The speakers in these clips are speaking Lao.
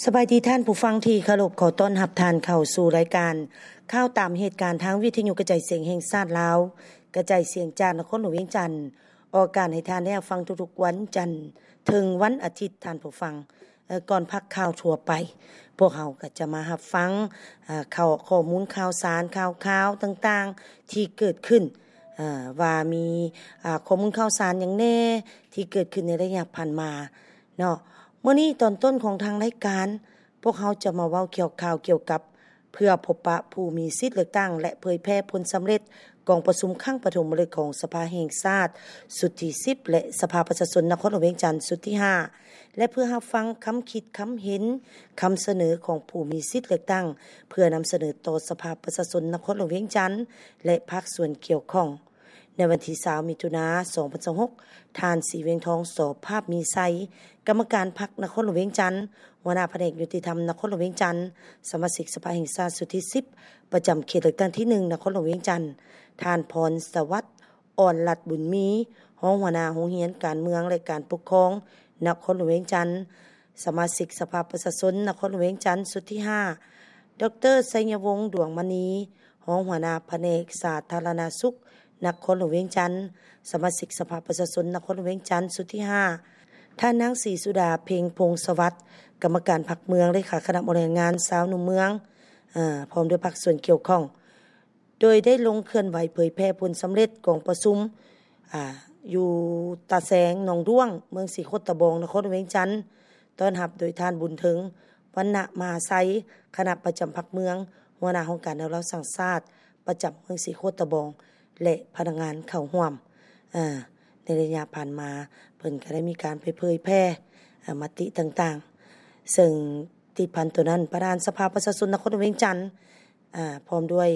ສະບາຍດີທ່ານຜູ້ຟັງທີ່ເຄົາລົບ, ຂໍຕ້ອນຮັບທ່ານເຂົ້າສູ່ລາຍການຂ່າວຕາມເຫດການທາງວິທະຍຸກະຈາຍສຽງແຫ່ງຊາດລາວ, ກະຈາຍສຽງຈາກນະຄອນຫຼວງວຽງຈັນ, ອອກອາກາດໃຫ້ທ່ານໄດ້ຮັບຟັງທຸກໆວັນຈັນເຖິງວັນອາທິດ. ທ່ານຜູ້ຟັງ, ເອີ ກ່ອນພັກຂ່າວທົ່ວໄປ, ພວກເຮົາກໍຈະມາຮັບຟັງ, ເອີ ຂ່າວ, ຂໍ້ມູນຂ່າວສານ, ຂ່າວຄາວຕ່າງໆທີ່ເກີດຂຶ້ນ, ເອີ ວ່າມີ, ອາ, ຂໍ້ມູນຂ່າວສານຫຍັງແດ່ທີ່ເກີດຂຶ້ນໃນໄລຍະຜ່ານມາເນາະ. ມື້ນີ້ຕອນຕົ້ນຂອງທາງລາຍການ, ພວກເຮົາຈະມາເວົ້າຂ່າວກ່ຽວກັບ ເພື່ອພົບປະຜູ້ມີສິດເລືອກຕັ້ງ ແລະ ເຜີຍແຜ່ຜົນສຳເລັດກອງປະຊຸມຄັ້ງປະຖົມມະລຶກຂອງສະພາແຫ່ງຊາດຊຸດທີສິບ ແລະ ສະພາປະຊາຊົນນະຄອນຫຼວງວຽງຈັນຊຸດທີຫ້າ ແລະ ເພື່ອຮັບຟັງຄຳຄິດຄຳເຫັນ, ຄຳສະເໜີຂອງຜູ້ມີສິດເລືອກຕັ້ງ ເພື່ອນຳສະເໜີຕໍ່ສະພາປະຊາຊົນນະຄອນຫຼວງວຽງຈັນ ແລະ ພາກສ່ວນກ່ຽວຂ້ອງ. ໃນວັນທີຊາວ ມິຖຸນາ ສອງພັນຊາວຫົກ, ທ່ານ ສີວຽງທອງ ສອພາບມີໄຊ, ກຳມະການພັກນະຄອນຫຼວງວຽງຈັນ, ຫົວໜ້າພະແນກຍຸຕິທຳນະຄອນຫຼວງວຽງຈັນ, ສະມາຊິກສະພາແຫ່ງຊາດຊຸດທີສິບ ປະຈຳເຂດເລືອກຕັ້ງທີໜຶ່ງ ນະຄອນຫຼວງວຽງຈັນ, ທ່ານ ພອນສະຫວັດ ອ່ອນລັດບຸນມີ, ຮອງຫົວໜ້າໂຮງຮຽນການເມືອງ ແລະ ການປົກຄອງນະຄອນຫຼວງວຽງຈັນ, ສະມາຊິກສະພາປະຊາຊົນນະຄອນຫຼວງວຽງຈັນຊຸດທີຫ້າ, ດອກເຕີ ໄຊຍະວົງ ດວງມະນີ, ຮອງຫົວໜ້າພະແນກສາທາລະນະສຸກນະຄອນຫຼວງວຽງຈັນ, ສະມາຊິກສະພາປະຊາຊົນນະຄອນຫຼວງວຽງຈັນຊຸດທີຫ້າ, ທ່ານນາງ ສີສຸດາ ເພັງພົງສະຫວັດ, ກຳມະການພັກເມືອງ, ເລຂາຄະນະບໍລິຫານງານຊາວໜຸ່ມເມືອງ, ເອີ ພ້ອມດ້ວຍພາກສ່ວນກ່ຽວຂ້ອງ ໂດຍໄດ້ລົງເຄື່ອນໄຫວເຜີຍແຜ່ຜົນສຳເລັດກອງປະຊຸມ, ອາ, ຢູ່ຕາແສງໜອງດ້ວງ, ເມືອງສີໂຄດຕະບອງ, ນະຄອນຫຼວງວຽງຈັນ, ຕ້ອນຮັບໂດຍທ່ານ ບຸນເທິງ ວັນນະມະຫາໄຊ, ຄະນະປະຈຳພັກເມືອງ, ຫົວໜ້າຫ້ອງການແນວລາວສ້າງຊາດປະຈຳເມືອງສີໂຄດຕະບອງ ແລະ ພະນັກງານເຂົ້າຮ່ວມ. ອາ, ໃນໄລຍະຜ່ານມາ, ເພິ່ນກໍໄດ້ມີການໄປເຜີຍແຜ່, ອາ, ມະຕິຕ່າງໆ, ເຊິ່ງຕິດພັນໂຕນັ້ນ, ປະທານສະພາປະຊາຊົນນະຄອນຫຼວງວຽງຈັນ, ອາ, ພ້ອມດ້ວຍ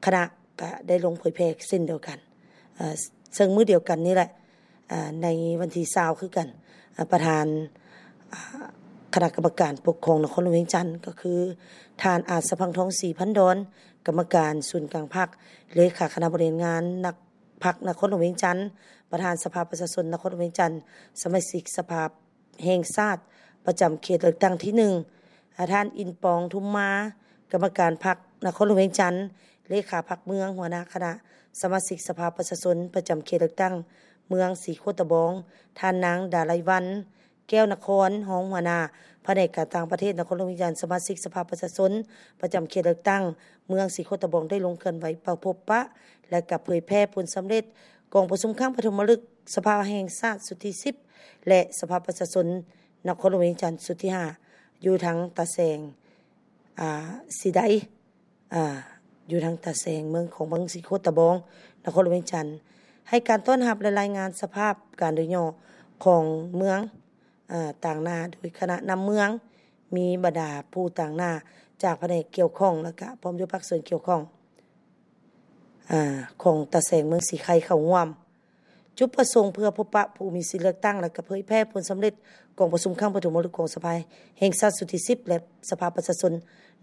ຄະນະກໍໄດ້ລົງເຜີຍແຜ່ເຊັ່ນດຽວກັນ. ເຊິ່ງມື້ດຽວກັນນີ້ແຫຼະ, ໃນວັນທີຊາວຄືກັນ, ປະທານຄະນະກຳມະການປົກຄອງນະຄອນຫຼວງວຽງຈັນ ກໍຄືທ່ານ ອາດສະພັງທອງ ສີພັນດອນ, ກຳມະການສູນກາງພັກ, ເລຂາຄະນະບໍລິຫານງານນະ ພັກນະຄອນຫຼວງວຽງຈັນ, ປະທານສະພາປະຊາຊົນນະຄອນຫຼວງວຽງຈັນ, ສະມາຊິກສະພາ ແຫ່ງຊາດປະຈຳເຂດເລືອກຕັ້ງທີໜຶ່ງ, ທ່ານ ອິນປອງ ທຸມມາ, ກຳມະການພັກນະຄອນຫຼວງວຽງຈັນ, ເລຂາພັກເມືອງ, ຫົວໜ້າຄະນະສະມາຊິກສະພາປະຊາຊົນປະຈຳເຂດເລືອກຕັ້ງເມືອງສີໂຄດຕະບອງ, ທ່ານນາງ ດາໄລວັນ ແກ້ວນະຄອນ, ຮອງຫົວໜ້າພະແນກການຕ່າງປະເທດນະຄອນຫຼວງວຽງຈັນ, ສະມາຊິກສະພາປະຊາຊົນປະຈຳເຂດເລືອກຕັ້ງເມືອງສີໂຄດຕະບອງ ໄດ້ລົງເຄື່ອນໄຫວເຂົ້າພົບປະ ແລະ ກະເຜີຍແຜ່ຜົນສຳເລັດ ກອງປະຊຸມຄັ້ງປະຖົມມະລຶກສະພາແຫ່ງຊາດຊຸດທີສິບ ແລະ ສະພາປະຊາຊົນນະຄອນຫຼວງວຽງຈັນຊຸດທີຫ້າ ຢູ່ທາງຕາແສງ ອາ ສີໄດ ອາ ຢູ່ທາງຕາແສງເມືອງຂອງເມືອງສີໂຄດຕະບອງ ນະຄອນຫຼວງວຽງຈັນ ໃຫ້ການຕ້ອນຮັບ ແລະ ລາຍງານສະພາບການໂດຍຫຍໍ້ຂອງເມືອງ ອາ ຕາງໜ້າໂດຍຄະນະນຳເມືອງ, ມີບັນດາຜູ້ຕາງໜ້າຈາກພະແນກກ່ຽວຂ້ອງ ແລະ ກະພ້ອມດ້ວຍພາກສ່ວນກ່ຽວຂ້ອງ ອາ ຂອງຕາແສງເມືອງສີໄຄເຂົ້າຮ່ວມ. ຈຸດປະສົງເພື່ອພົບປະຜູ້ມີສິດເລືອກຕັ້ງ ແລະ ກະເຜີຍແຜ່ຜົນສຳເລັດກອງປະຊຸມຄັ້ງປະຖົມມະລຶກຂອງສະພາແຫ່ງຊາດຊຸດທີສິບ ແລະ ສະພາປະຊາຊົນ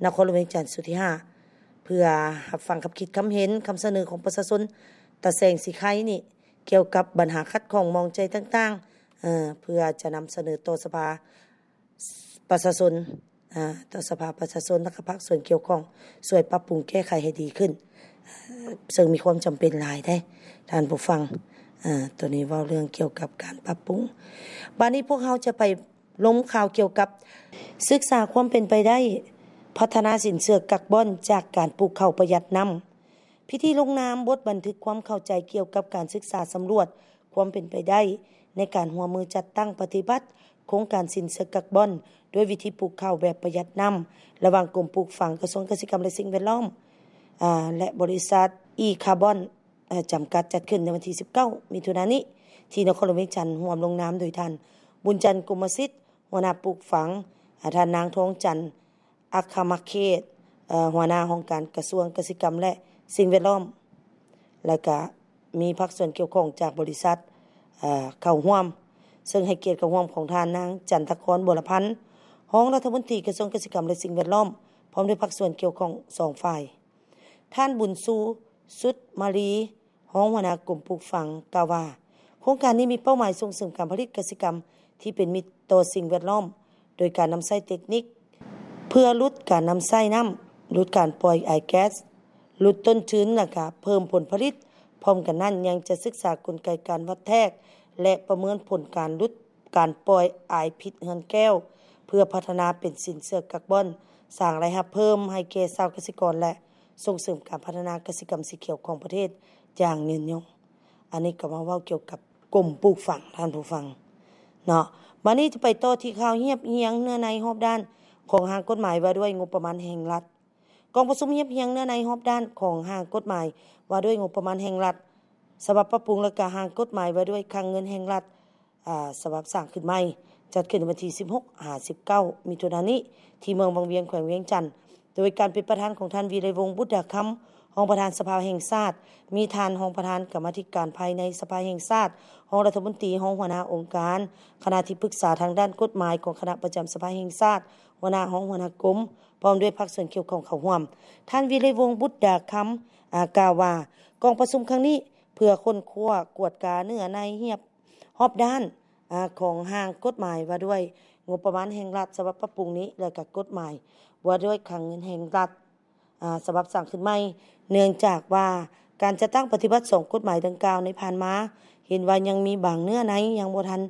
ນະຄອນຫຼວງວຽງຈັນຊຸດທີຫ້າ ເພື່ອຮັບຟັງຄຳຄິດຄຳເຫັນ, ຄຳສະເໜີຂອງປະຊາຊົນຕາແສງສີໄຄນີ້ ກ່ຽວກັບບັນຫາຂັດຂ້ອງໝອງໃຈຕ່າງໆ ເພື່ອຈະນຳສະເໜີຕໍ່ສະພາ ປະຊາຊົນ ອາ ຕໍ່ສະພາປະຊາຊົນ ແລະ ກະພາກສ່ວນກ່ຽວຂ້ອງ ຊ່ວຍປັບປຸງແກ້ໄຂໃຫ້ດີຂຶ້ນ ເຊິ່ງມີຄວາມຈຳເປັນຫຼາຍເດ້ທ່ານຜູ້ຟັງ. ອາ ໂຕນີ້ເວົ້າເລື່ອງກ່ຽວກັບການປັບປຸງ. ບາດນີ້ພວກເຮົາຈະໄປລົມຂ່າວກ່ຽວກັບ ສຶກສາຄວາມເປັນໄປໄດ້ພັດທະນາສິນເຊື່ອກັກບອນຈາກການປູກເຂົ້າປະຢັດນ້ຳ. ພິທີລົງນາມບົດບັນທຶກຄວາມເຂົ້າໃຈກ່ຽວກັບການສຶກສາສຳຫຼວດຄວາມເປັນໄປໄດ້ໃນການຮ່ວມມືຈັດຕັ້ງປະຕິບັດໂຄງການສິນເຊື່ອກັກບອນດ້ວຍວິທີປູກເຂົ້າແບບປະຢັດນ້ຳ ລະຫວ່າງກົມປູກຝັງ ກະຊວງກະສິກຳ ແລະ ສິ່ງແວດລ້ອມ ອາ ແລະ ບໍລິສັດ ອີຄາບອນ ອາ ຈຳກັດ ຈັດຂຶ້ນໃນວັນທີສິບເກົ້າ ມິຖຸນານີ້ ທີ່ນະຄອນຫຼວງວຽງຈັນ ຮ່ວມລົງນາມໂດຍທ່ານ ບຸນຈັນ ກົມມະສິດ ຫົວໜ້າປູກຝັງ, ອາ ທ່ານນາງ ທອງຈັນ ອັກຄະມະເຂດ ເອີ ຫົວໜ້າຫ້ອງການກະຊວງກະສິກຳ ແລະ ສິ່ງແວດລ້ອມ ແລະ ກະມີພາກສ່ວນກ່ຽວຂ້ອງຈາກບໍລິສັດ ເອີ ເຂົ້າຮ່ວມ, ເຊິ່ງໃຫ້ກຽດເຂົ້າຮ່ວມຂອງທ່ານນາງ ຈັນທະຄອນ ບົວລະພັນ ຮອງລັດຖະມົນຕີກະຊວງກະສິກຳ ແລະ ສິ່ງແວດລ້ອມ ພ້ອມດ້ວຍພາກສ່ວນກ່ຽວຂ້ອງສອງຝ່າຍ. ທ່ານ ບຸນຊູ ສຸດມາລີ ຮອງຫົວໜ້າກົມປູກຝັງ ກ່າວວ່າ ໂຄງການນີ້ມີເປົ້າໝາຍສົ່ງເສີມການຜະລິດກະສິກຳທີ່ເປັນມິດຕໍ່ສິ່ງແວດລ້ອມ ໂດຍການນຳໃຊ້ເຕັກນິກ ເພື່ອຫຼຸດການນຳໃຊ້ນ້ຳ, ຫຼຸດການປ່ອຍອາຍແກັສ, ຫຼຸດຕົ້ນທຶນ ແລະ ກະເພີ່ມຜົນຜະລິດ. ພ້ອມກັນນັ້ນ ຍັງຈະສຶກສາກົນໄກການວັດແທກ ແລະ ປະເມີນຜົນການຫຼຸດການປ່ອຍອາຍພິດເຮືອນແກ້ວ ເພື່ອພັດທະນາເປັນສິນເຊື່ອກາບອນ, ສ້າງລາຍຮັບເພີ່ມໃຫ້ແກ່ຊາວກະສິກອນ ແລະ ສົ່ງເສີມການພັດທະນາກະສິກຳສີຂຽວຂອງປະເທດຢ່າງຍືນຍົງ. ອັນນີ້ກໍມາເວົ້າກ່ຽວກັບກົມປູກຝັງ, ທ່ານຜູ້ຟັງເນາະ. ບາດນີ້ຈະໄປຕໍ່ທີ່ຂ່າວຮຽບຮຽງເນື້ອໃນຮອບດ້ານຂອງຮ່າງກົດໝາຍວ່າດ້ວຍງົບປະມານແຫ່ງລັດ. ກອງປະຊຸມຮຽບຮຽງເນື້ອໃນຮອບດ້ານຂອງຮ່າງກົດໝາຍວ່າດ້ວຍງົບປະມານແຫ່ງລັດ ສະບັບປັບປຸງ ແລະ ກະຮ່າງກົດໝາຍວ່າດ້ວຍຄ່າເງິນແຫ່ງລັດ ອາ ສະບັບສ້າງຂຶ້ນໃໝ່ ຈັດຂຶ້ນໃນວັນທີສິບຫົກຫາສິບເກົ້າ ມິຖຸນານີ້ ທີ່ເມືອງວັງວຽງ ແຂວງວຽງຈັນ ໂດຍການເປັນປະທານຂອງທ່ານ ວິໄລວົງ ບຸດດາຄຳ ຮອງປະທານສະພາແຫ່ງຊາດ, ມີທ່ານຮອງປະທານກຳມາທິການພາຍໃນສະພາແຫ່ງຊາດ, ຮອງລັດຖະມົນຕີ, ຮອງຫົວໜ້າອົງການ, ຄະນະທີ່ປຶກສາທາງດ້ານກົດໝາຍຂອງຄະນະປະຈຳສະພາແຫ່ງຊາດ, ຫົວໜ້າຫ້ອງ, ຫົວໜ້າກົມ, ພ້ອມດ້ວຍພາກສ່ວນກ່ຽວຂ້ອງເຂົ້າຮ່ວມ. ທ່ານ ວິໄລວົງ ບຸດດາຄຳ ອາ ກ່າວວ່າ ກອງປະຊຸມຄັ້ງນີ້ ເພື່ອຄົ້ນຄວ້າກວດກາເນື້ອໃນຮຽບ ຮອບດ້ານ ອາ ຂອງຮ່າງກົດໝາຍວ່າດ້ວຍງົບປະມານແຫ່ງລັດ ສະບັບປັບປຸງນີ້ ແລະ ກະກົດໝາຍວ່າດ້ວຍຄ່າເງິນແຫ່ງລັດ ອາ ສະບັບສ້າງຂຶ້ນໃໝ່, ເນື່ອງຈາກວ່າການຈັດຕັ້ງປະຕິບັດສອງກົດໝາຍດັ່ງກ່າວໃນຜ່ານມາ ເຫັນວ່າຍັງມີບາງເນື້ອໃນຍັງບໍ່ທັນ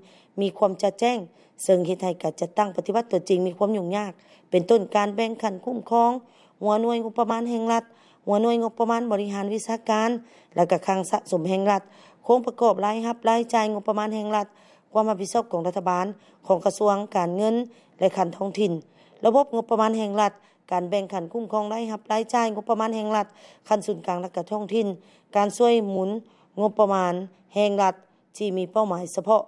ມີຄວາມຈະແຈ້ງ, ເຊິ່ງເຮັດໃຫ້ການຈັດຕັ້ງປະຕິບັດຕົວຈິງມີຄວາມຫຍຸ້ງຍາກ, ເປັນຕົ້ນການແບ່ງຂັ້ນຄຸ້ມຄອງ ຫົວໜ່ວຍງົບປະມານແຫ່ງລັດ, ຫົວໜ່ວຍງົບປະມານບໍລິຫານວິຊາການ ແລະ ກະຄັງສະສົມແຫ່ງລັດ, ໂຄງປະກອບລາຍຮັບລາຍຈ່າຍງົບປະມານແຫ່ງລັດ, ຄວາມຮັບຜິດຊອບຂອງລັດຖະບານ, ຂອງກະຊວງການເງິນ ແລະ ຂັ້ນທ້ອງຖິ່ນ, ລະບົບງົບປະມານແຫ່ງລັດ, ການແບ່ງຂັນຄຸ້ມຄອງລາຍຮັບລາຍຈ່າຍງົບປະມານແຫ່ງລັດ ຂັ້ນສູນກາງ ແລະ ກະທ້ອງຖິ່ນ, ການຊ່ວຍໝູນງົບປະມານແຫ່ງລັດທີ່ມີເປົ້າໝາຍສະເພາະ,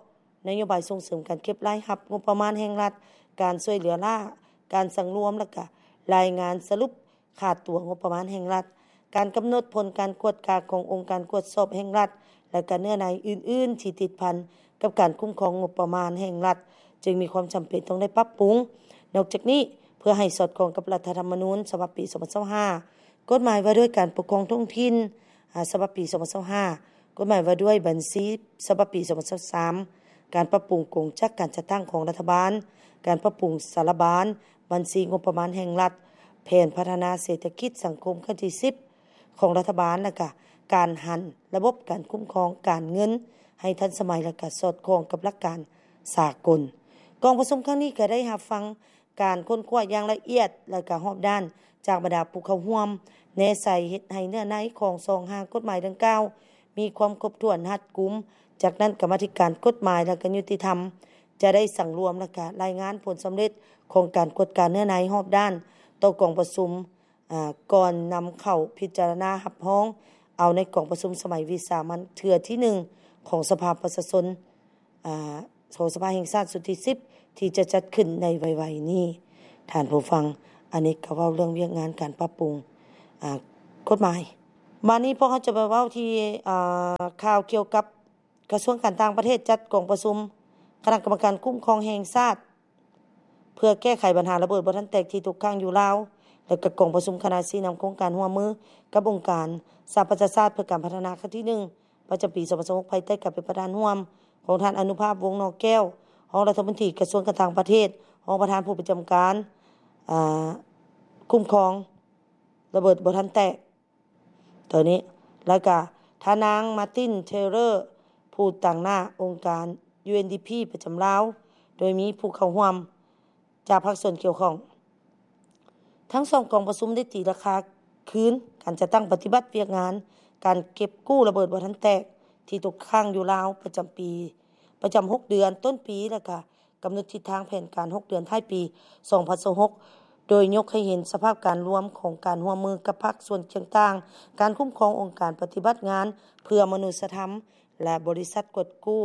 ນະໂຍບາຍສົ່ງເສີມການເກັບລາຍຮັບງົບປະມານແຫ່ງລັດ, ການຊ່ວຍເຫຼືອລ້າ, ການສັງລວມ ແລະ ກະລາຍງານສະຫຼຸບ ຂາດຕົວງົບປະມານແຫ່ງລັດ, ການກຳນົດຜົນການກວດກາຂອງອົງການກວດສອບແຫ່ງລັດ ແລະ ກະເນື້ອໃນອື່ນໆທີ່ຕິດພັນກັບການຄຸ້ມຄອງງົບປະມານແຫ່ງລັດ ຈຶ່ງມີຄວາມຈຳເປັນຕ້ອງໄດ້ປັບປຸງ. ນອກຈາກນີ້, ເພື່ອໃຫ້ສອດຄ່ອງກັບລັດຖະທຳມະນູນສະບັບປີສອງພັນຊາວຫ້າ, ກົດໝາຍວ່າດ້ວຍການປົກຄອງທ້ອງຖິ່ນ ອາ ສະບັບປີສອງພັນຊາວຫ້າ, ກົດໝາຍວ່າດ້ວຍບັນຊີສະບັບປີສອງພັນຊາວສາມ, ການປັບປຸງກົງຈັກການຈັດຕັ້ງຂອງລັດຖະບານ, ການປັບປຸງສາລະບານບັນຊີງົບປະມານແຫ່ງລັດ, ແຜນພັດທະນາເສດຖະກິດສັງຄົມຄັ້ງທີສິບຂອງລັດຖະບານ ແລະ ກະການຫັນລະບົບການຄຸ້ມຄອງການເງິນໃຫ້ທັນສະໄໝ ແລະ ກະສອດຄ່ອງກັບຫຼັກການສາກົນ. ກອງປະຊຸມຄັ້ງນີ້ກະໄດ້ຮັບຟັງ ການຄົ້ນຄວ້າຢ່າງລະອຽດ ແລະ ກະຮອບດ້ານຈາກບັນດາຜູ້ເຂົ້າຮ່ວມ ແນໃສ່ເຮັດໃຫ້ເນື້ອໃນຂອງສອງຮ່າງກົດໝາຍດັ່ງກ່າວມີຄວາມຄົບຖ້ວນຮັດກຸມ. ຈາກນັ້ນ ກຳມາທິການກົດໝາຍ ແລະ ກະຍຸຕິທຳ ຈະໄດ້ສັງລວມ ແລະ ກະລາຍງານຜົນສຳເລັດຂອງການກວດກາເນື້ອໃນຮອບດ້ານຕໍ່ກອງປະຊຸມ ອາ ກ່ອນນຳເຂົ້າພິຈາລະນາຮັບຮອງເອົາໃນກອງປະຊຸມສະໄໝວິສາມັນເທື່ອທີໜຶ່ງຂອງສະພາປະຊາຊົນ ອາ ຂອງສະພາແຫ່ງຊາດຊຸດທີສິບ ທີ່ຈະຈັດຂຶ້ນໃນໄວໆນີ້. ທ່ານຜູ້ຟັງ, ອັນນີ້ກໍເວົ້າເລື່ອງວຽກງານການປັບປຸງ ອາ ກົດໝາຍ. ບາດນີ້ພວກເຮົາຈະໄປເວົ້າທີ່ ອາ ຂ່າວກ່ຽວກັບກະຊວງການຕ່າງປະເທດຈັດກອງປະຊຸມຄະນະກຳມະການຄຸ້ມຄອງແຫ່ງຊາດ ເພື່ອແກ້ໄຂບັນຫາລະເບີດບໍ່ທັນແຕກທີ່ຕົກຄ້າງຢູ່ລາວ ແລະ ກະກອງປະຊຸມຄະນະຊີ້ນຳໂຄງການຮ່ວມມືກັບອົງການສະຫະປະຊາຊາດເພື່ອການພັດທະນາຄັ້ງທີໜຶ່ງ ປະຈຳປີສອງພັນຊາວຫົກ ພາຍໃຕ້ການເປັນປະທານຮ່ວມຂອງທ່ານອະນຸພາບ ວົງນໍແກ້ວ ຮອງລັດຖະມົນຕີກະຊວງການຕ່າງປະເທດ, ຮອງປະທານຜູ້ປະຈຳການ ອາ ຄຸ້ມຄອງລະເບີດບໍ່ທັນແຕກ ໂຕນີ້ ແລ້ວກະທ່ານນາງ ມາຕິນ ເທເລີ ຜູ້ຕາງໜ້າອົງການ ຢູເອັນດີພີ ປະຈຳລາວ ໂດຍມີຜູ້ເຂົ້າຮ່ວມຈາກພາກສ່ວນກ່ຽວຂ້ອງ. ທັງສອງກອງປະຊຸມໄດ້ຕີລາຄາຄືນການຈັດຕັ້ງປະຕິບັດວຽກງານການເກັບກູ້ລະເບີດບໍ່ທັນແຕກທີ່ຕົກຄ້າງຢູ່ລາວປະຈຳປີ ປະຈຳຫົກເດືອນຕົ້ນປີ ແລ້ວກະ ກຳນົດທິດທາງແຜນການຫົກເດືອນທ້າຍປີສອງພັນຊາວຫົກ ໂດຍຍົກໃຫ້ເຫັນສະພາບການລວມຂອງການຮ່ວມມືກັບພາກສ່ວນຕ່າງໆ, ການຄຸ້ມຄອງອົງການປະຕິບັດງານເພື່ອມະນຸດສະທຳ ແລະ ບໍລິສັດກວດກູ້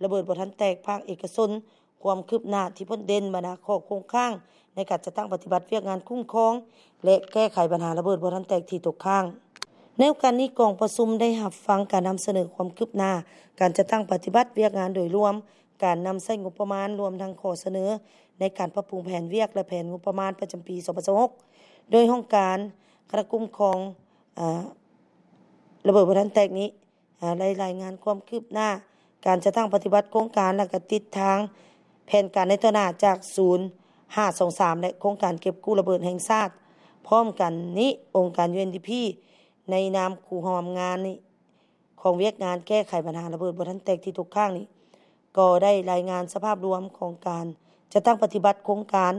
ລະເບີດບໍ່ທັນແຕກພາກເອກະຊົນ, ຄວາມຄືບໜ້າທີ່ພົ້ນເດັ່ນ, ບັນດາຂໍ້ຄົງຄ້າງໃນການຈັດຕັ້ງປະຕິບັດວຽກງານຄຸ້ມຄອງ ແລະ ແກ້ໄຂບັນຫາລະເບີດບໍ່ທັນແຕກທີ່ຕົກຄ້າງ. ໃນໂອກາດນີ້, ກອງປະຊຸມໄດ້ຮັບຟັງການນຳສະເໜີຄວາມຄືບໜ້າການຈັດຕັ້ງປະຕິບັດວຽກງານໂດຍລວມ, ການນຳໃຊ້ງົບປະມານ, ລວມທັງຂໍ້ສະເໜີໃນການປັບປຸງແຜນວຽກ ແລະ ແຜນງົບປະມານປະຈຳປີສອງພັນຊາວຫົກ ໂດຍຫ້ອງການຄະນະຄຸ້ມຄອງ ອາ ລະເບີດບໍ່ທັນແຕກນີ້ ອາ ໄດ້ລາຍງານຄວາມຄືບໜ້າການຈັດຕັ້ງປະຕິບັດໂຄງການ ແລະ ກະທິດທາງແຜນການໃນຕໍ່ໜ້າຈາກສູນ ຫ້າສອງສາມ ແລະ ໂຄງການເກັບກູ້ລະເບີດແຫ່ງຊາດ. ພ້ອມກັນນີ້, ອົງການ UNDP ໃນນາມຄູ່ຮ່ວມງານນີ້ ຂອງວຽກງານແກ້ໄຂບັນຫາລະເບີດບໍ່ທັນແຕກທີ່ຕົກຄ້າງນີ້ ກໍໄດ້ລາຍງານສະພາບລວມຂອງການຈັດຕັ້ງປະຕິບັດໂຄງການ,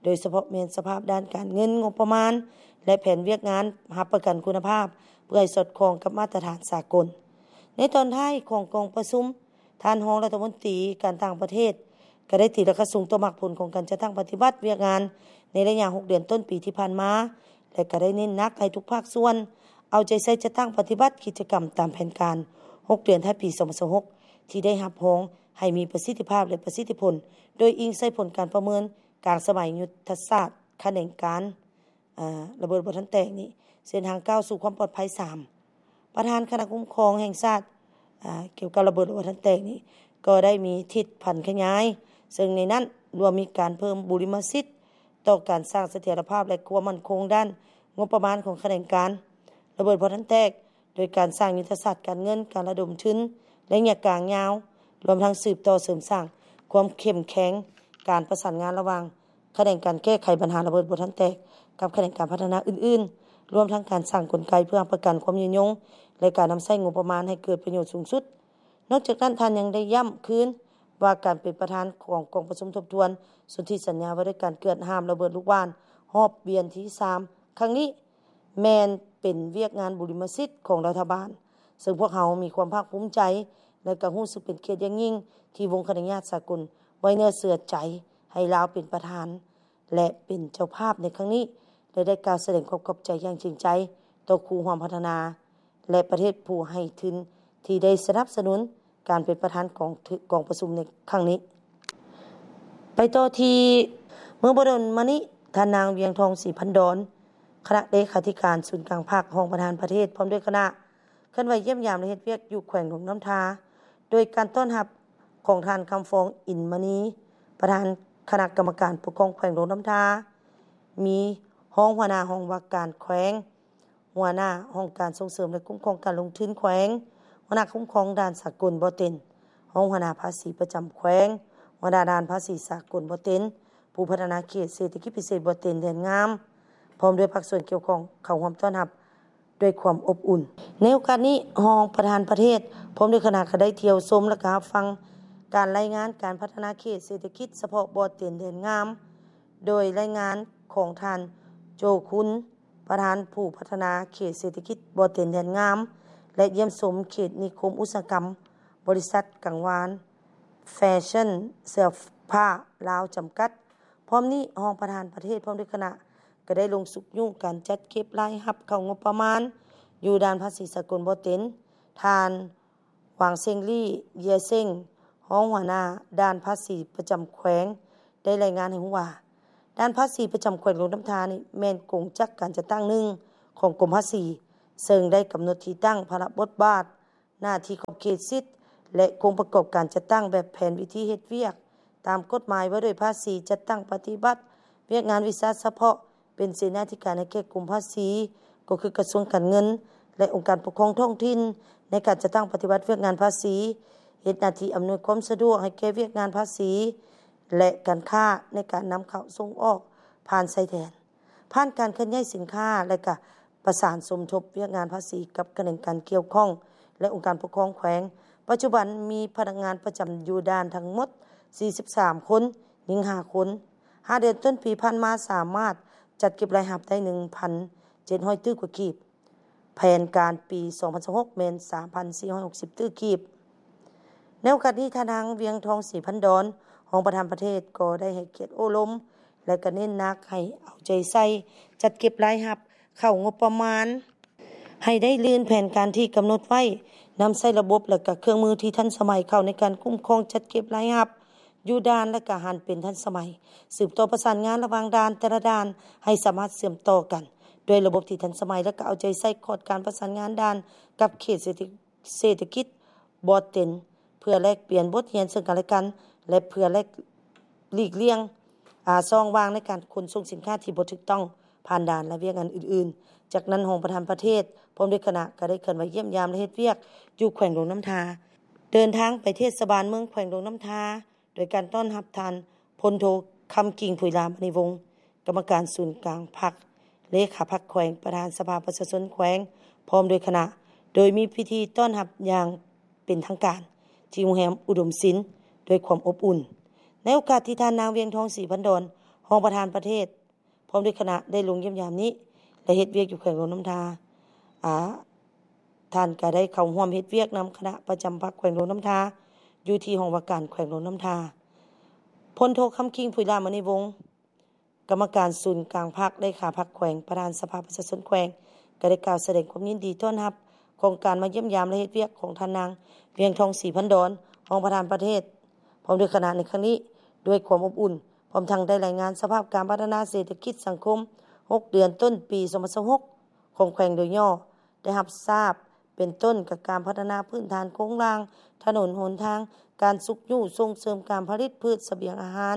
ໂດຍສະເພາະແມ່ນສະພາບດ້ານການເງິນ, ງົບປະມານ ແລະ ແຜນວຽກງານຮັບປະກັນຄຸນນະພາບ ເພື່ອໃຫ້ສອດຄ່ອງກັບມາດຕະຖານສາກົນ. ໃນຕອນທ້າຍຂອງກອງປະຊຸມ, ທ່ານຮອງລັດຖະມົນຕີການຕ່າງປະເທດ ກໍໄດ້ຕີລາຄາສູງຕໍ່ໝາກຜົນຂອງການຈັດຕັ້ງປະຕິບັດວຽກງານໃນໄລຍະຫົກເດືອນຕົ້ນປີທີ່ຜ່ານມາ ແລະ ກໍໄດ້ເນັ້ນໜັກໃຫ້ທຸກພາກສ່ວນເອົາໃຈໃສ່ຈັດຕັ້ງປະຕິບັດກິດຈະກຳຕາມແຜນການຫົກເດືອນທ້າຍປີສອງພັນຊາວຫົກ ທີ່ໄດ້ຮັບຮອງໃຫ້ມີປະສິດທິພາບ ແລະ ປະສິດທິຜົນ, ໂດຍອີງໃສ່ຜົນການປະເມີນກາງສະໄໝຍຸດທະສາດຂະແໜງການ ອາ ລະເບີດບໍ່ທັນແຕກນີ້ ເສັ້ນທາງກ້າວສູ່ຄວາມປອດໄພສາມ. ປະທານຄະນະຄຸ້ມຄອງແຫ່ງຊາດ ອາ ກ່ຽວກັບລະເບີດບໍ່ທັນແຕກນີ້ ກໍໄດ້ມີທິດຜັນຂະຫຍາຍ, ເຊິ່ງໃນນັ້ນລວມມີການເພີ່ມບຸລິມະສິດຕໍ່ການສ້າງສະຖຽນລະພາບ ແລະ ຄວາມໝັ້ນຄົງດ້ານງົບປະມານຂອງຂະແໜງການລະເບີດບໍ່ທັນແຕກ, ໂດຍການສ້າງຍຸດທະສາດການເງິນ, ການລະດົມທຶນໄລຍະກາງຍາວ, ລວມທັງສືບຕໍ່ເສີມສ້າງຄວາມເຂັ້ມແຂງການປະສານງານລະຫວ່າງ ຂະແໜງການແກ້ໄຂບັນຫາລະເບີດບໍ່ທັນແຕກ ກັບຂະແໜງການພັດທະນາອື່ນໆ, ລວມທັງການສ້າງກົນໄກເພື່ອຮັບປະກັນຄວາມຍືນຍົງ ແລະ ການນຳໃຊ້ງົບປະມານໃຫ້ເກີດປະໂຫຍດສູງສຸດ. ນອກຈາກນັ້ນ, ທ່ານຍັງໄດ້ຢ້ຳຄືນວ່າການເປັນປະທານຂອງກອງປະຊຸມທົບທວນສົນທິສັນຍາວ່າດ້ວຍການເກືອດຫ້າມລະເບີດລູກຫວ່ານຮອບວຽນທີສາມຄັ້ງນີ້ ແມ່ນເປັນວຽກງານບຸລິມະສິດຂອງລັດຖະບານ, ເຊິ່ງພວກເຮົາມີຄວາມພາກພູມໃຈ ແລະ ກໍຮູ້ສຶກເປັນກຽດຢ່າງຍິ່ງທີ່ວົງຄະນະຍາດສາກົນໄວ້ເນື້ອເຊື່ອໃຈ ໃຫ້ລາວເປັນປະທານ ແລະ ເປັນເຈົ້າພາບໃນຄັ້ງນີ້ ແລະ ໄດ້ກ່າວສະແດງຄວາມຂອບໃຈຢ່າງຈິງໃຈຕໍ່ຄູ່ຮ່ວມພັດທະນາ ແລະ ປະເທດຜູ້ໃຫ້ທຶນທີ່ໄດ້ສະໜັບສະໜູນການເປັນປະທານຂອງກອງປະຊຸມໃນຄັ້ງນີ້. ໄປຕໍ່ທີ່ເມື່ອບໍ່ດົນມານີ້, ທ່ານນາງ ວຽງທອງ ສີພັນດອນ ຄະນະເລຂາທິການສູນກາງພັກ, ຮອງປະທານປະເທດ ພ້ອມດ້ວຍຄະນະ ເຄື່ອນໄຫວຢ້ຽມຢາມ ແລະ ເຮັດວຽກຢູ່ແຂວງຫຼວງນ້ຳທາ ໂດຍການຕ້ອນຮັບຂອງທ່ານ ຄຳຟອງ ອິນມະນີ ປະທານຄະນະກຳມະການປົກຄອງແຂວງຫຼວງນ້ຳທາ, ມີຮອງຫົວໜ້າຫ້ອງວ່າການແຂວງ, ຫົວໜ້າຫ້ອງການສົ່ງເສີມ ແລະ ຄຸ້ມຄອງການລົງທຶນແຂວງ, ຫົວໜ້າຄຸ້ມຄອງດ່ານສາກົນບໍ່ເຕັນ, ຮອງຫົວໜ້າພາສີປະຈຳແຂວງ, ຫົວໜ້າດ່ານພາສີສາກົນບໍ່ເຕັນ, ຜູ້ພັດທະນາເຂດເສດຖະກິດພິເສດບໍ່ເຕັນແດນງາມ, ພ້ອມດ້ວຍພາກສ່ວນກ່ຽວຂ້ອງເຂົ້າຮ່ວມຕ້ອນຮັບ ດ້ວຍຄວາມອົບອຸ່ນ. ໃນໂອກາດນີ້, ຮອງປະທານປະເທດ ພ້ອມດ້ວຍຄະນະ ກໍໄດ້ທ່ຽວຊົມ ແລະ ກໍຮັບຟັງການລາຍງານການພັດທະນາເຂດເສດຖະກິດສະເພາະບໍ່ເຕັນແດນງາມ, ໂດຍລາຍງານຂອງທ່ານ ໂຈ ຄຸນ ປະທານຜູ້ພັດທະນາເຂດເສດຖະກິດບໍ່ເຕັນແດນງາມ ແລະ ຢ້ຽມຊົມເຂດນິຄົມອຸດສາຫະກຳ ບໍລິສັດກັງວານ ແຟຊັ່ນເສື້ອຜ້າລາວ ຈຳກັດ. ພ້ອມນີ້, ຮອງປະທານປະເທດ ພ້ອມດ້ວຍຄະນະ ກໍໄດ້ລົງຊຸກຍູ້ການຈັດເກັບລາຍຮັບເຂົ້າງົບປະມານຢູ່ດ່ານພາສີສາກົນບໍ່ເຕັນ. ທ່ານ ຫວັງເຊັງລີ້ ເຢຍເຊັງ ຮອງຫົວໜ້າດ່ານພາສີປະຈຳແຂວງ ໄດ້ລາຍງານໃຫ້ຮູ້ວ່າ, ດ່ານພາສີປະຈຳແຂວງຫຼວງນ້ຳທານີ້ ແມ່ນກົງຈັກການຈັດຕັ້ງໜຶ່ງຂອງກົມພາສີ, ເຊິ່ງໄດ້ກຳນົດທີ່ຕັ້ງ, ພາລະບົດບາດ, ໜ້າທີ່, ຂອບເຂດສິດ ແລະ ໂຄງປະກອບການຈັດຕັ້ງແບບແຜນວິທີເຮັດວຽກ ຕາມກົດໝາຍວ່າດ້ວຍພາສີ, ຈັດຕັ້ງປະຕິບັດວຽກງານວິຊາສະເພາະ, ເປັນເສນາທິການໃຫ້ແກ່ກົມພາສີ, ກໍຄືກະຊວງການເງິນ ແລະ ອົງການປົກຄອງທ້ອງຖິ່ນ ໃນການຈັດຕັ້ງປະຕິບັດວຽກງານພາສີ, ເຮັດໜ້າທີ່ອຳນວຍຄວາມສະດວກໃຫ້ແກ່ວຽກງານພາສີ ແລະ ການຄ້າ ໃນການນຳເຂົ້າສົ່ງອອກຜ່ານຊາຍແດນ, ຜ່ານການເຄື່ອນຍ້າຍສິນຄ້າ ແລະ ກະປະສານສົມທົບວຽກງານພາສີກັບຂະແໜງການກ່ຽວຂ້ອງ ແລະ ອົງການປົກຄອງແຂວງ. ປັດຈຸບັນມີພະນັກງານປະຈຳຢູ່ດ່ານທັງໝົດສີ່ສິບສາມຄົນ, ຍິງຫ້າຄົນ. ຫ້າເດືອນຕົ້ນປີຜ່ານມາ ສາມາດຈັດເກັບລາຍຮັບໄດ້ໜຶ່ງພັນເຈັດຮ້ອຍຕື້ກວ່າກີບ. ແຜນການປີສອງພັນຊາວຫົກ ແມ່ນສາມພັນສີ່ຮ້ອຍຫົກສິບຕື້ກີບ. ໃນໂອກາດນີ້, ທ່ານນາງ ວຽງທອງ ສີພັນດອນ ຮອງປະທານປະເທດ ກໍໄດ້ໃຫ້ກຽດໂອ້ລົມ ແລະ ກໍເນັ້ນໜັກໃຫ້ເອົາໃຈໃສ່ຈັດເກັບລາຍຮັບເຂົ້າງົບປະມານ ໃຫ້ໄດ້ລື່ນແຜນການທີ່ກຳນົດໄວ້, ນຳໃຊ້ລະບົບ ແລະ ກະເຄື່ອງມືທີ່ທັນສະໄໝເຂົ້າໃນການຄຸ້ມຄອງຈັດເກັບລາຍຮັບຢູ່ດ່ານ ແລະ ກະຫັນເປັນທັນສະໄໝ, ສືບຕໍ່ປະສານງານລະຫວ່າງດ່ານແຕ່ລະດ່ານໃຫ້ສາມາດເຊື່ອມຕໍ່ກັນດ້ວຍລະບົບທີ່ທັນສະໄໝ ແລະ ກະເອົາໃຈໃສ່ຂອດການປະສານງານດ່ານກັບເຂດເສດຖະ ເສດຖະກິດບໍ່ເຕັນ ເພື່ອແລກປ່ຽນບົດຮຽນເຊິ່ງກັນແລະກັນ ແລະ ເພື່ອແລກ ຫຼີກລ່ຽງ ອາ ຊ່ອງວ່າງໃນການຂົນສົ່ງສິນຄ້າທີ່ບໍ່ຖືກຕ້ອງຜ່ານດ່ານ ແລະ ວຽກງານອື່ນໆ. ຈາກນັ້ນ, ຮອງປະທານປະເທດ ພ້ອມດ້ວຍຄະນະ ກໍໄດ້ເຄື່ອນໄຫວຢ້ຽມຢາມ ແລະ ເຮັດວຽກຢູ່ແຂວງຫຼວງນ້ຳທາ, ເດີນທາງໄປເທດສະບານເມືອງແຂວງຫຼວງນ້ຳທາ ໂດຍການຕ້ອນຮັບທ່ານ ພົນໂທ ຄຳກິ່ງ ຜຸຍລາມະນີວົງ ກຳມະການສູນກາງພັກ, ເລຂາພັກແຂວງ, ປະທານສະພາປະຊາຊົນແຂວງ ພ້ອມດ້ວຍຄະນະ, ໂດຍມີພິທີຕ້ອນຮັບຢ່າງເປັນທາງການ ທີ່ໂຮງແຮມອຸດົມສິນ ດ້ວຍຄວາມອົບອຸ່ນ. ໃນໂອກາດທີ່ທ່ານນາງ ວຽງທອງ ສີພັນດອນ ຮອງປະທານປະເທດ ພ້ອມດ້ວຍຄະນະ ໄດ້ລົງຢ້ຽມຢາມນີ້ ແລະ ເຮັດວຽກຢູ່ແຂວງຫຼວງນ້ຳທາ, ອາ, ທ່ານກໍໄດ້ເຂົ້າຮ່ວມເຮັດວຽກນຳຄະນະປະຈຳພັກແຂວງຫຼວງນ້ຳທາ ຢູ່ທີ່ຫ້ອງວ່າການແຂວງຫຼວງນ້ຳທາ. ພົນໂທ ຄຳກິ່ງ ຜຸຍລາມະນີວົງ ກຳມະການສູນກາງພັກ, ເລຂາພັກແຂວງ, ປະທານສະພາປະຊາຊົນແຂວງ ກໍໄດ້ກ່າວສະແດງຄວາມຍິນດີຕ້ອນຮັບຂອງການມາຢ້ຽມຢາມ ແລະ ເຮັດວຽກຂອງທ່ານນາງ ວຽງທອງ ສີພັນດອນ ຮອງປະທານປະເທດ ພ້ອມດ້ວຍຄະນະໃນຄັ້ງນີ້ ດ້ວຍຄວາມອົບອຸ່ນ, ພ້ອມທັງໄດ້ລາຍງານສະພາບການພັດທະນາເສດຖະກິດສັງຄົມ ຫົກເດືອນຕົ້ນປີ ສອງພັນຊາວຫົກ ຂອງແຂວງໂດຍຫຍໍ້ ໄດ້ຮັບຊາບ ເປັນຕົ້ນກະການພັດທະນາພື້ນຖານໂຄງລ່າງ, ຖະໜົນຫົນທາງ, ການຊຸກຍູ້ສົ່ງເສີມການຜະລິດພືດສະບຽງອາຫານ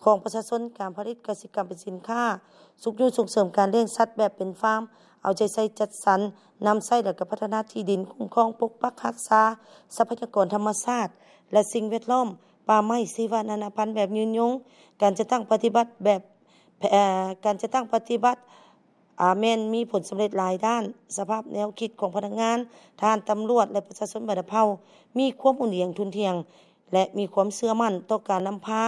ຂອງປະຊາຊົນ, ການຜະລິດກະສິກຳເປັນສິນຄ້າ, ຊຸກຍູ້ສົ່ງເສີມການລ້ຽງສັດແບບເປັນຟາມ, ເອົາໃຈໃສ່ຈັດສັນ, ນຳໃຊ້ ແລະ ກະພັດທະນາທີ່ດິນ, ຄຸ້ມຄອງປົກປັກຮັກສາຊັບພະຍາກອນທຳມະຊາດ ແລະ ສິ່ງແວດລ້ອມ, ປ່າໄມ້, ຊີວະນານາພັນແບບຍືນຍົງ, ການຈັດຕັ້ງປະຕິບັດແບບ ແຜ-, ການຈັດຕັ້ງປະຕິບັດ ອາ ແມ່ນມີຜົນສຳເລັດຫຼາຍດ້ານ, ສະພາບແນວຄິດຂອງພະນັກງານ, ທະຫານ, ຕຳຫຼວດ ແລະ ປະຊາຊົນບັນດາເຜົ່າ ມີຄວາມອຸ່ນອຽງທຸ່ນທ່ຽງ ແລະ ມີຄວາມເຊື່ອໝັ້ນຕໍ່ການນຳພາ,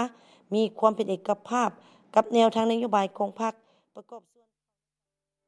ມີຄວາມເປັນເອກະພາບກັບແນວທາງນະໂຍບາຍຂອງພັກ ປະກອບ